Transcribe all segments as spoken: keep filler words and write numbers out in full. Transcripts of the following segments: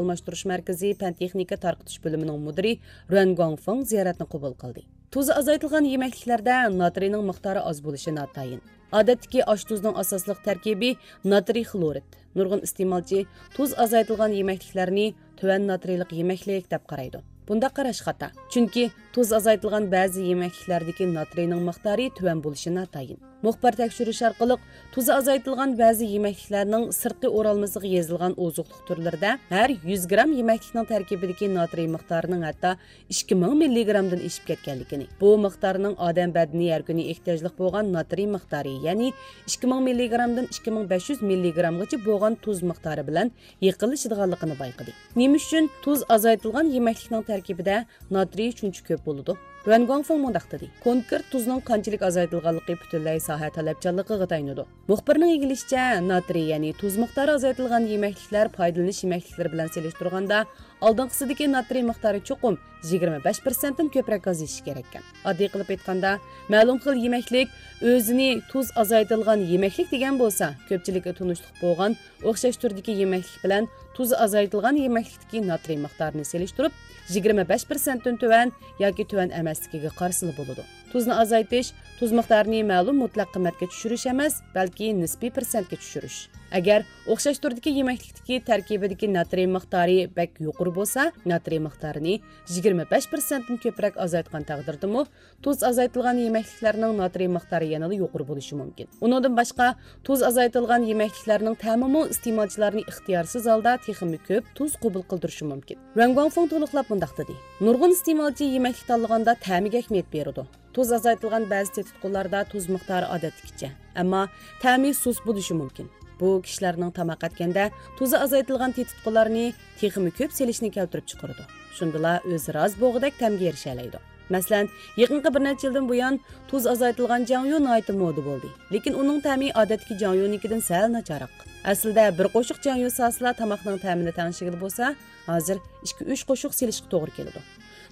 ئورۇنلاشتۇرۇش مەركىزى پەن-تېخنىكا تارقىتىش بۆلۈمىنىڭ مۇدىرى رۈەن گۇاڭفېڭ زىيارەتنى قوبۇل قىلدى. تۇز ئازايتىلغان يېمەكلىكلەردە ناترىينىڭ مىقدارى ئاز بولۇشى ناتايىن. ئادەتتىكى ئاش-تۇزنىڭ ئاساسلىق تەركىبى ناترىي خلورىد. نۇرغۇن ئىستېمالچى تۇز ئازايتىلغان يېمەكلىكلەرنى تۆۋەن ناترىيلىق يېمەكلىك دەپ قارايدۇ. بۇنداق قاراش خاتا. چۈنكى تۇز ئازايتىلغان بەزى يېمەكلىكلەردىكى ناترىينىڭ مىقدارى تۆۋەن بولۇشى ناتايىن. مۇخبىر تەكشۈرۈش ئارقىلىق تۇزى ئازايتىلغان بەزى يېمەكلىكلەرنىڭ سىرتقى ئورالمىسىغا يېزىلغان ئوزۇقلۇق تۈرلىرىدە ھەر يۈز گرام يېمەكلىكنىڭ تەركىبىدىكى ناترىي مىقدارىنىڭ ھەتتا ئىككى مىڭ مىللىگرامدىن ئېشىپ كەتكەنلىكىنى، بۇ مىقدارنىڭ ئادەم بەدىنى ھەر كۈنى ئېھتىياجلىق بولغان ناترىي مىقدارى، يەنى ئىككى مىڭ مىللىگرامدىن ئىككى مىڭ بەش يۈز مىللىگرامغىچە بولغان تۇز مىقدارى بىلەن يېقىنلىشىدىغانلىقىنى بايقىدى. نېمە ئۈچۈن تۇز ئازايتىلغان يېمەكلىكنىڭ تەركىبىدە ناترىي شۇنچە كۆپ بولىدۇ؟ رۈەن گۇاڭفېڭ مۇنداق دېدى: كونكرېت تۇزنىڭ قانچىلىك ئازايتىلغانلىقى پۈتۈنلەي ساھە تەلەپچانلىقىغا تايىنىدۇ. مۇخبىرنىڭ ئىگىلىشىچە، ناترىي، يەنى تۇز مىقدارى ئازايتىلغان يېمەكلىكلەر پايدىلىنىش يېمەكلىكلىرى بىلەن سېلىشتۇرغاندا، ئالدىنقىسىدىكى ناترىي مىقدارى چوقۇم يىگىرمە بەش پىرسەنتتىن كۆپرەك ئازىيىشى كېرەككەن. ئاددىي قىلىپ ئېيتقاندا، مەلۇم خىل يېمەكلىك ئۆزىنى تۇز ئازايتىلغان يېمەكلىك دېگەن بولسا، كۆپچىلىككە تونۇشلۇق بولغان ئوخشاش تۈردىكى يېمەكلىك بىلەن تۇزى ئازايتىلغان يېمەكلىكتىكى ناترىي مىقدارىنى سېلىشتۇرۇپ، يىگىرمە بەش پىرسەنتتىن تۆۋەن ياكى تۆۋەن ئەمەسلىكىگە قارىسىلا بولىدۇ. تۇزنى ئازايتىش تۇز مىقدارىنى مەلۇم مۇتلەق قىممەتكە چۈشۈرۈش ئەمەس، بەلكى نىسپىي پىرسەنتكە چۈشۈرۈش. ئەگەر ئوخشاش تۈردىكى يېمەكلىكتىكى تەركىبىدىكى ناترىي مىقدارى بەك يۇقىرى بولسا، ناترىي مىقدارىنى يىگىرمە بەش پىرسەنتتىن كۆپرەك ئازايتقان تەقدىردىمۇ، تۇز ئازايتىلغان يېمەكلىكلەرنىڭ ناترىي مىقدارى يەنىلا يۇقىرى بولۇشى مۇمكىن. ئۇنىڭدىن باشقا، تۇز ئازايتىلغان يېمەكلىكلەرنىڭ تەمىمۇ ئىستېمالچىلارنى ئىختىيارسىز ھالدا تېخىمۇ كۆپ تۇز قوبۇل قىلدۇرۇشى مۇمكىن. رۈەن گۇاڭفېڭ تولۇقلاپ مۇنداق دېدى: نۇرغۇن ئىستېمالچى يېمەكلىك تاللىغاندا تەمىگە ئەھمىيەت بېرىدۇ. تۇز ئازايتىلغان بەزى تېتىتقۇلاردا تۇز مىقدارى ئادەتتىكىچە، ئەمما تەمى سۇس بولۇشى مۇمكىن. بۇ كىشىلەرنىڭ تاماق ئەتكەندە تۇزى ئازايتىلغان تېتىتقۇلارنى تېخىمۇ كۆپ سېلىشنى كەلتۈرۈپ چىقىرىدۇ. شۇندىلا ئۆزى رازى بولغۇدەك تەمگە ئېرىشەلەيدۇ. مەسىلەن، يېقىنقى بىر نەچچە يىلدىن بۇيان تۇز ئازايتىلغان جياڭيۇ ناھايىتى مودا بولدى. لېكىن ئۇنىڭ تەمى ئادەتتىكى جياڭيۇنىڭكىدىن سەل ناچارراق. ئەسلىدە بىر قوشۇق جياڭيۇ سالسىلا تاماقنىڭ تەمىنى تەڭشىگىلى بولسا، ھازىر ئىككى-ئۈچ قوشۇق سېلىشقا توغرا كېلىدۇ.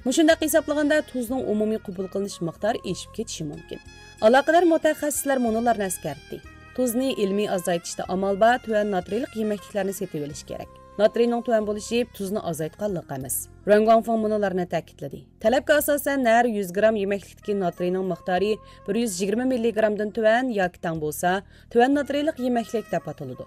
مۇشۇنداق ھېسابلىغاندا، تۇزنىڭ ئومۇمىي قوبۇل قىلىنىش مىقدارى ئېشىپ كېتىشى مۇمكىن. ئالاقىدار مۇتەخەسسىسلەر مۇنۇلارنى ئەسكەرتتى: تۇزنى ئىلمىي ئازايتىشتا ئامال بار تۆۋەن ناترىيلىق يېمەكلىكلەرنى سېتىۋېلىش كېرەك. ناترىينىڭ تۆۋەن بولۇشى تۇزنى ئازايتقانلىق ئەمەس. رۈەن گۇاڭفېڭ مۇنۇلارنى تەكىتلىدى: تەلەپكە ئاساسەن، ھەر يۈز گرام يېمەكلىكتىكى ناترىينىڭ مىقدارى بىر يۈز يىگىرمە مىللىگرامدىن تۆۋەن ياكى تەڭ بولسا، تۆۋەن ناترىيلىق يېمەكلىك دەپ ئاتىلىدۇ.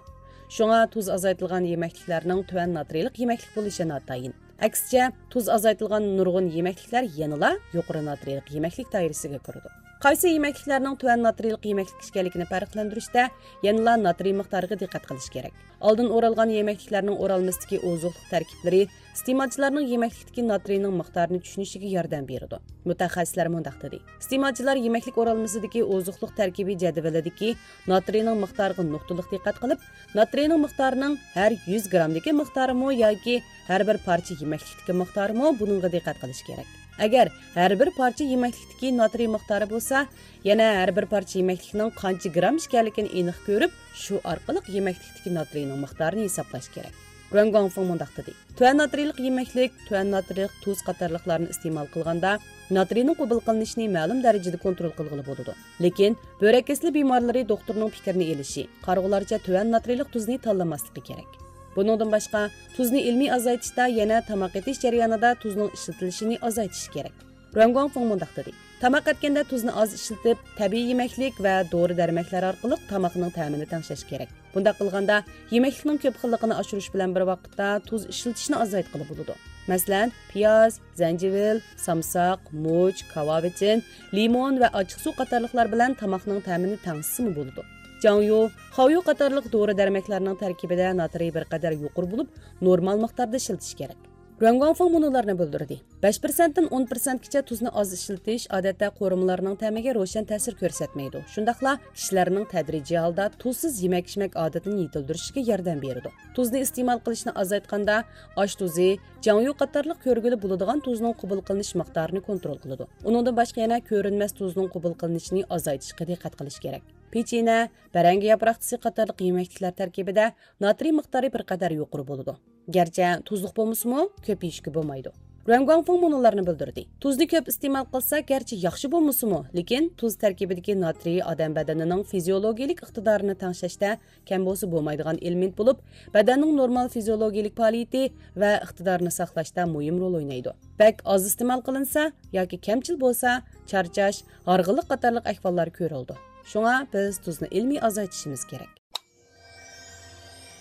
شۇڭا تۇز ئازايتىلغان يېمەكلىكلەرنىڭ تۆۋەن ناترىيلىق يېمەكلىك بولۇشى ناتايىن. ئەكسىچە، تۇز ئازايتىلغان نۇرغۇن يېمەكلىكلەر يەنىلا يۇقىرى ناترىيلىق يېمەكلىك دائىرىسىگە كىرىدۇ. قايسى يېمەكلىكلەرنىڭ تۆۋەن ناترىيلىق يېمەكلىك ئىكەنلىكىنى پەرقلەندۈرۈشتە يەنىلا ناترىي مىقدارىغا دىققەت قىلىش كېرەك. ئالدىن ئورالغان يېمەكلىكلەرنىڭ ئورالمىسىدىكى ئوزۇقلۇق تەركىبلىرى ئىستېمالچىلارنىڭ يېمەكلىكتىكى ناترىينىڭ مىقدارىنى چۈشىنىشىگە ياردەم بېرىدۇ. مۇتەخەسسىسلەر مۇنداق دېدى: ئىستېمالچىلار يېمەكلىك ئورالمىسىدىكى ئوزۇقلۇق تەركىبى جەدۋىلىدىكى ناترىينىڭ مىقدارىغا نۇقتىلىق دىققەت قىلىپ، ناترىينىڭ مىقدارىنىڭ ھەر يۈز گرامدىكى مىقدارىمۇ ياكى ھەر بىر پارچە يېمەكلىكتىكى مىقدارىمۇ، بۇنىڭغا دىققەت قىلىش كېرەك. ئەگەر ھەر بىر پارچە يېمەكلىكتىكى ناترىي مىقدارى بولسا، يەنە ھەر بىر پارچە يېمەكلىكنىڭ قانچە گرام ئىكەنلىكىنى ئېنىق كۆرۈپ، شۇ ئارقىلىق يېمەكلىكتىكى ناترىينىڭ مىقدارىنى ھېسابلاش كېرەك. رۈەن گۇاڭفېڭ مۇنداق دېدى: تۆۋەن ناترىيلىق يېمەكلىك، تۆۋەن ناترىيلىق تۇز قاتارلىقلارنى ئىستېمال قىلغاندا، ناترىينىڭ قوبۇل قىلىنىشىنى مەلۇم دەرىجىدە كونترول قىلغىلى بولىدۇ. لېكىن بۆرەك كېسىلى بىمارلىرى دوختۇرنىڭ پىكرىنى ئېلىشى، قارىغۇلارچە تۆۋەن ناترىيلىق تۇزنى تاللىماسلىقى كېرەك. بۇنىڭدىن باشقا، تۇزنى ئىلمىي ئازايتىشتا يەنە تاماق ئېتىش جەريانىدا تۇزنىڭ ئىشلىتىلىشىنى ئازايتىش كېرەك. رۈەن گۇاڭفېڭ مۇنداق دېدى: تاماق ئەتكەندە تۇزنى ئاز ئىشلىتىپ، تەبىئىي يېمەكلىك ۋە دورا-دەرمەكلەر ئارقىلىق تاماقنىڭ تەمىنى تەڭشەش كېرەك. بۇنداق قىلغاندا، يېمەكلىكنىڭ كۆپ خىللىقىنى ئاشۇرۇش بىلەن بىر ۋاقىتتا تۇز ئىشلىتىشنى ئازايتقىلى بولىدۇ. مەسىلەن، پىياز، زەنجىۋىل، سامساق، مۇچ، كاۋاۋىچىن، لىمون ۋە ئاچچىقسۇ قاتارلىقلار بىلەن تاماقنىڭ تەمىنى تەڭشىسىمۇ بولىدۇ. جاڭيۇ، خاۋيۇ قاتارلىق دورا-دەرمەكلەرنىڭ تەركىبىدە ناترىي بىر قەدەر يۇقىرى بولۇپ، نورمال مىقداردا ئىشلىتىش كېرەك. رۈەن گۇاڭفېڭ مۇنۇلارنى بىلدۈردى: بەش پىرسەنتتىن ئون پىرسەنتكىچە تۇزنى ئاز ئىشلىتىش، ئادەتتە، قورۇمىلارنىڭ تەمىگە روشەن تەسىر كۆرسەتمەيدۇ، شۇنداقلا كىشىلەرنىڭ تەدرىجىي ھالدا تۇزسىز يېمەك-ئىچمەك ئادىتىنى يېتىلدۈرۈشىگە ياردەم بېرىدۇ. تۇزنى ئىستېمال قىلىشنى ئازايتقاندا، ئاش تۇزى، جاڭيۇ قاتارلىق كۆرگىلى بولىدىغان تۇزنىڭ قوبۇل قىلىنىش مىقدارىنى كونترول قىلىدۇ. ئۇنىڭدىن باشقا يەنە كۆرۈنمەس تۇزنىڭ قوبۇل قىلىنىشىنى ئازايتىشقا دىققەت قىلىش كېرەك. پېچىنە، بەرەڭگە ياپراق تۈزى قاتارلىق يېمەكلىكلەر تەركىبىدە ناترىي مىقدارى بىر قەدەر يۇقىرى بولىدۇ. گەرچە تۇزلۇق بولمىسىمۇ، كۆپ يېيىشكە بولمايدۇ. رۇەن گۇاڭفېڭ مۇنۇلارنى بىلدۈردى: تۇزنى كۆپ ئىستېمال قىلسا، گەرچە ياخشى بولمىسىمۇ، لېكىن تۇز تەركىبىدىكى ناترىي ئادەم بەدىنىنىڭ فىزىيولوگىيەلىك ئىقتىدارىنى تەڭشەشتە كەم بولسا بولمايدىغان ئېلېمېنت بولۇپ، بەدەننىڭ نورمال فىزىيولوگىيەلىك پائالىيىتى ۋە ئىقتىدارىنى ساقلاشتا مۇھىم رول ئوينايدۇ. بەك ئاز ئىستېمال قىلىنسا ياكى كەمچىل بولسا، چارچاش، ھارغىنلىق قاتارلىق ئەھۋاللار كۆرۈلىدۇ. شۇڭا بىز تۇزنى ئىلمىي ئازايتىشىمىز كېرەك.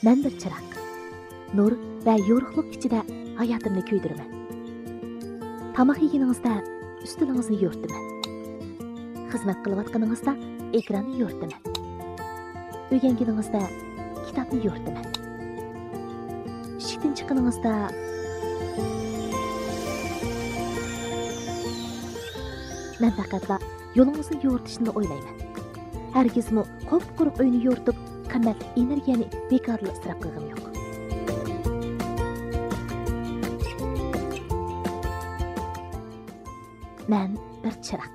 مەن بىر چىراغ. نۇر ۋە يورۇقلۇق ئىچىدە ھاياتىمنى كۆيدۈرىمەن. تاماق يېگىنىڭىزدە ئۈستىلىڭىزنى يورۇتىمەن. خىزمەت قىلىۋاتقىنىڭىزدا ئېكراننى يورۇتىمەن. ئۆگەنگىنىڭىزدە كىتابنى يورۇتىمەن. ئىشىكتىن چىققىنىڭىزدا مەن پەقەتلا يولىڭىزنى يورۇتۇشنىلا ئويلايمەن. ھەرگىزمۇ قۇپقۇرۇق ئۆينى يورۇتۇپ، قىممەتلىك ئېنېرگىيەنى بىكارلا ئىسراپ قىلغىنىم يوق. مەن بىر چىراغ.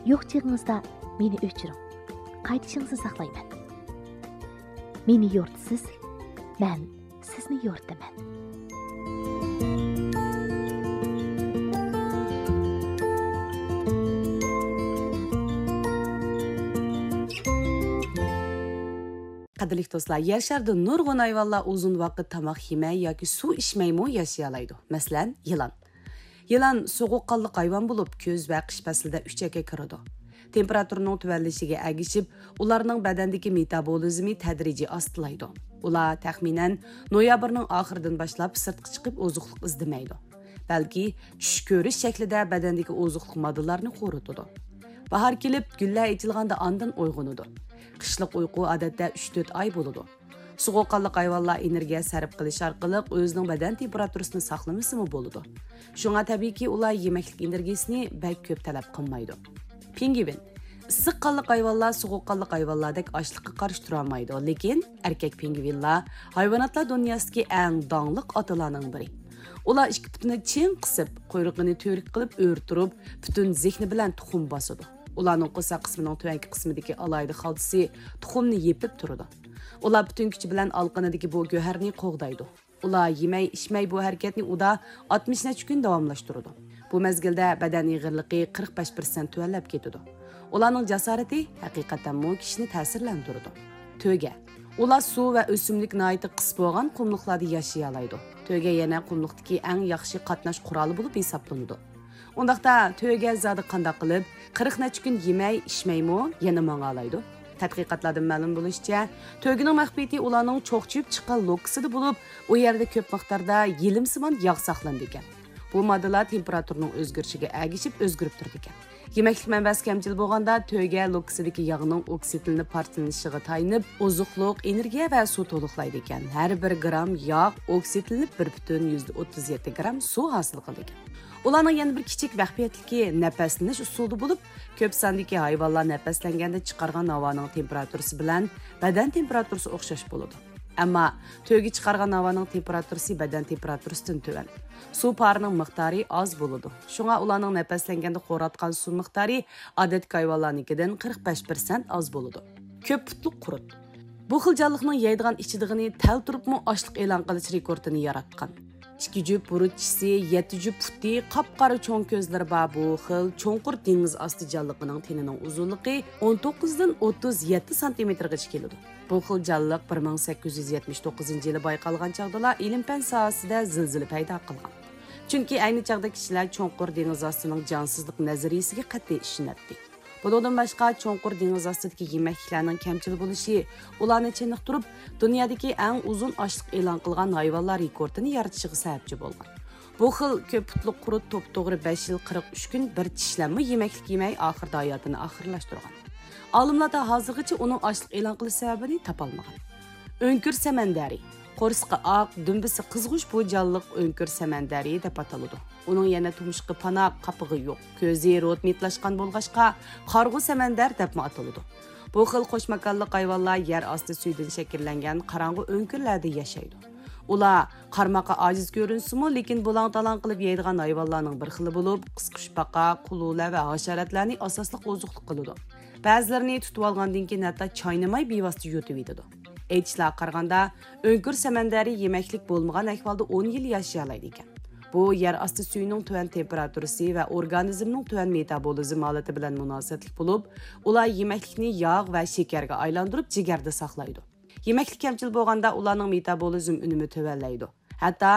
يوق چېغىڭىزدا مېنى ئۆچۈرۈڭ. قايتىشىڭىزنى ساقلايمەن. مېنى يورۇتىسىز، مەن سىزنى يورۇتىمەن. قەدىرلىك دوستلار، يەر شارىدا نۇرغۇن ھايۋانلار ئۇزۇن ۋاقىت تاماق يېمەي ياكى سۇ ئىچمەيمۇ ياشىيالايدۇ. مەسىلەن، يىلان. يىلان سوغۇققانلىق ھايۋان بولۇپ، كۈز ۋە قىش پەسلىدە ئۈچەككە كىرىدۇ. تېمپېراتۇرىنىڭ تۆۋەنلىشىگە ئەگىشىپ، ئۇلارنىڭ بەدەندىكى مېتابولىزمى تەدرىجىي ئاستىلايدۇ. ئۇلار تەخمىنەن نويابىرنىڭ ئاخىرىدىن باشلاپ سىرتقا چىقىپ ئوزۇقلۇق ئىزدىمەيدۇ، بەلكى چۈش كۆرۈش شەكلىدە بەدەندىكى ئوزۇقلۇق ماددىلارنى قورۇتىدۇ. باھار كېلىپ، گۈللەر ئېچىلغاندا ئاندىن ئويغىنىدۇ. قىشلىق ئۇيقۇ ئادەتتە ئۈچ تۆت ئاي بولىدۇ. سوغۇققانلىق ھايۋانلار ئېنېرگىيە سەرپ قىلىش ئارقىلىق ئۆزىنىڭ بەدەن تېمپېراتۇرىسىنى ساقلىمىسىمۇ بولىدۇ. شۇڭا تەبىئىيكى، ئۇلار يېمەكلىك ئېنېرگىيىسىنى بەك كۆپ تەلەپ قىلمايدۇ. پىڭگۋىن. ئىسسىق قانلىق ھايۋانلار سوغۇق قانلىق ھايۋانلاردەك ئاچلىققا قارشى تۇرالمايدۇ، لېكىن ئەركەك پىڭگۋىنلار ھايۋاناتلار دۇنياسىدىكى ئەڭ داڭلىق ئاتىلارنىڭ بىرى. ئۇلار ئىككى پۇتىنى چىڭ قىسىپ، قۇيرۇقىنى تۈۋرۈك قىلىپ ئۆرە تۇرۇپ، پۈتۈن زېھنى بىلەن تۇخۇم باسىدۇ. ئۇلارنىڭ قورساق قىسمىنىڭ تۆۋەنكى قىسمىدىكى ئالاھىدە خالتىسى تۇخۇمنى يېپىپ تۇرىدۇ. ئۇلار پۈتۈن كۈچى بىلەن ئالىقىنىدىكى بۇ گۆھەرنى قوغدايدۇ. ئۇلار يېمەي، ئىچمەي بۇ ھەرىكەتنى ئۇدا ئاتمىش نەچچە كۈن داۋاملاشتۇرىدۇ. بۇ مەزگىلدە بەدەن ئېغىرلىقى قىرىق بەش پىرسەنت تۆۋەنلەپ كېتىدۇ. ئۇلارنىڭ جاسارىتى ھەقىقەتەنمۇ كىشىنى تەسىرلەندۈرىدۇ. تۆگە. ئۇلار سۇ ۋە ئۆسۈملۈك ناھايىتى قىس بولغان قۇملۇقلاردا ياشىيالايدۇ. تۆگە يەنە قۇملۇقتىكى ئەڭ ياخشى قاتناش قورالى بولۇپ ھېسابلىنىدۇ. ئۇنداقتا تۆگە زادى قانداق قىلىپ قىرىق نەچچە كۈن يېمەي، ئىچمەيمۇ يەنە ماڭالايدۇ؟ تەتقىقاتلاردىن مەلۇم بولۇشىچە، تۆگىنىڭ مەخپىيىتى ئۇلارنىڭ چوقچىيىپ چىققان لوككىسىدا بولۇپ، ئۇ يەردە كۆپ مىقداردا يېلىمسىمان ياغ ساقلىنىدىكەن. بۇ ماددىلار تېمپېراتۇرىنىڭ ئۆزگىرىشىگە ئەگىشىپ ئۆزگىرىپ تۇرىدىكەن. يېمەكلىك مەنبەسى كەمچىل بولغاندا، تۆگە لوككىسىدىكى ياغنىڭ ئوكسىدلىنىپ پارچىلىنىشىغا تايىنىپ، ئوزۇقلۇق، ئېنېرگىيە ۋە سۇ تولۇقلايدىكەن. ھەر بىر گرام ياغ ئوكسىدلىنىپ، بىر پۈتۈن يۈزدە ئوتتۇز يەتتە گرام سۇ ھاسىل قىلىدىكەن. ئۇلارنىڭ يەنە بىر كىچىك مەخپىيەتلىكى نەپەسلىنىش ئۇسۇلىدا بولۇپ، كۆپ ساندىكى ھايۋانلار نەپەسلەنگەندە چىقارغان ھاۋانىڭ تېمپېراتۇرىسى بىلەن بەدەن تېمپېراتۇرىسى ئوخشاش بولىدۇ. ئەمما تۆگە چىقارغان ھاۋانىڭ تېمپېراتۇرىسى بەدەن تېمپېراتۇرىسىدىن تۆۋەن. سۇ پارىنىڭ مىقدارى ئاز بولىدۇ. شۇڭا ئۇلارنىڭ نەپەسلەنگەندە خوراتقان سۇ مىقدارى ئادەتتىكى ھايۋانلارنىڭكىدىن قىرىق بەش پىرسەنت ئاز بولىدۇ. كۆپ پۇتلۇق قۇرت. بۇ خىل جانلىقنىڭ يەيدىغان ئىچىدىغىنى تەل تۇرۇپمۇ ئاشلىق ئېلان قىلىش رېكورتىنى ياراتقان. ئىككى جۈپ بۇرۇت چىشى، يەتتە جۈپ پۇتى، قاپقارا چوڭ كۆزلىرى بار بۇ خىل چوڭقۇر دېڭىز ئاستى جانلىقىنىڭ تېنىنىڭ ئۇزۇنلۇقى ئون توققۇزدىن ئوتتۇز يەتتە سانتىمېتىرغىچە كېلىدۇ. بۇ خىل جانلىق بىر مىڭ سەككىز يۈز يەتمىش توققۇزىنچى يىلى بايقالغان چاغدىلا ئىلىم-پەن ساھەسىدە زىلزىلە پەيدا قىلغان. چۈنكى ئەينى چاغدا كىشىلەر چوڭقۇر دېڭىز ئاستىنىڭ جانسىزلىق نەزەرىيىسىگە قەتئىي ئىشىنەتتى. بۇنىڭدىن باشقا، چوڭقۇر دېڭىز ئاستىدىكى يېمەكلىكلەرنىڭ كەمچىل بولۇشى ئۇلارنى چېنىقتۇرۇپ، دۇنيادىكى ئەڭ ئۇزۇن ئاشلىق ئېلان قىلغان ھايۋانلار رېكورتىنى يارىتىشىغا سەۋەبچى بولغان. بۇ خىل كۆپ پۇتلۇق قۇرت توپتوغرا بەش يىل قىرىق ئۈچ كۈن بىر چىشلەممۇ يېمەكلىك يېمەي، ئاخىرىدا ھاياتىنى ئاخىرلاشتۇرغان. ئالىملار تا ھازىرغىچە ئۇنىڭ ئاشلىق ئېلان قىلىش سەۋەبىنى تاپالمىغان. ئۆڭكۈر سەمەندەرى. قورسىقى ئاق، دۈمبىسى قىزغۇچ بۇ جانلىق ئۆڭكۈر سەمەندەرى دەپ ئاتىلىدۇ. ئۇنىڭ يەنە تۇمشۇقى پاناق، قاپىقى يوق، كۆزى روتمىتلاشقان بولغاچقا، قارىغۇ سەمەندەر دەپمۇ ئاتىلىدۇ. بۇ خىل قوش ماكانلىق ھايۋانلار يەر ئاستى سۈيىدىن شەكىللەنگەن قاراڭغۇ ئۆڭكۈرلەردە ياشايدۇ. ئۇلار قارىماققا ئاجىز كۆرۈنسىمۇ، لېكىن بۇلاڭ-تالاڭ قىلىپ يەيدىغان ھايۋانلارنىڭ بىر خىلى بولۇپ، قىسقۇچپاقا، قۇلۇلە ۋە ھاشاراتلارنى ئاساسلىق ئوزۇقلۇق قىلىدۇ. بەزىلىرىنى تۇتۇۋالغاندىن كېيىن ھەتتا چاينىماي بىۋاسىتە يۇتۇۋېتىدۇ. ئېيتىشلارغا قارىغاندا، ئۆڭكۈر سەمەندەرى يېمەكلىك بولمىغان ئەھۋالدا ئون يىل ياشىيالايدىكەن. بۇ يەر ئاستى سۈيىنىڭ تۆۋەن تېمپېراتۇرىسى ۋە ئورگانىزمنىڭ تۆۋەن مېتابولىزم ھالىتى بىلەن مۇناسىۋەتلىك بولۇپ، ئۇلار يېمەكلىكنى ياغ ۋە شېكەرگە ئايلاندۇرۇپ، جىگەردە ساقلايدۇ. يېمەكلىك كەمچىل بولغاندا، ئۇلارنىڭ مېتابولىزم ئۈنۈمى تۆۋەنلەيدۇ. ھەتتا